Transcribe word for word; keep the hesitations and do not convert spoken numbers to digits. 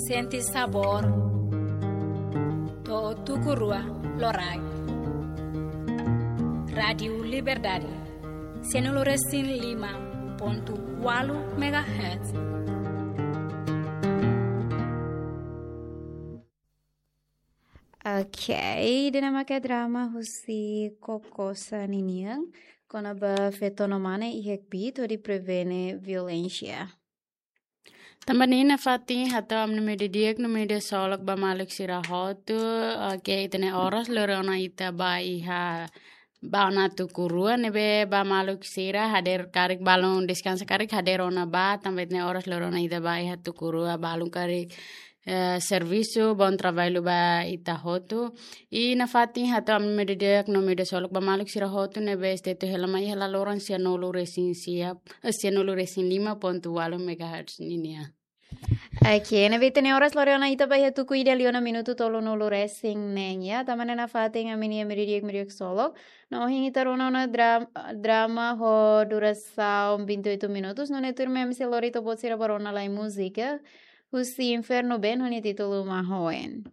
Sente sabór. To'o tuku rua loraik. Rádiu Liberdade. Sianulu resin lima pontu ualu megahertz. Ok, ida-ne'e mak drama husi Kokosa ninian, kona-ba feto no mane iha Kbiit hodi prevene violénsia. Tanba ne'e nafatin hato'o ami-nia media di'ak no media solok ba maluk sira hotu, ok, ita-nia oras lori ona ita ba iha ba ona tuku rua ne'ebé ba maluk sira hadeer karik balun deskansa karik hadeer ona ba tanba ita-nia oras lori ona ita ba iha tuku rua balun karik, eh, servisu, bom trabalho ba ita hotu. I nafatin hato'o ami-nia media di'ak no media solok ba maluk sira hotu ne'ebé estetu hela mai iha laloran sianulu resin sia, eh, sianulu resin lima pontu ualu megahertz ninia. Ok, ne'ebé ita-nia oras lori ona ita ba iha tuku ida liu ona minutu tolunulu resin neen ya. Tanba ne'e nafatin ami-nia media di'ak media solok. No ohin ita rona ona dra-, drama ho durasaun vinte e oito minutos. No ne'e tuirmai ami sei lori to'o buat sira ba rona lai múzika husi Inferno Band ho nia títulu Mahoen.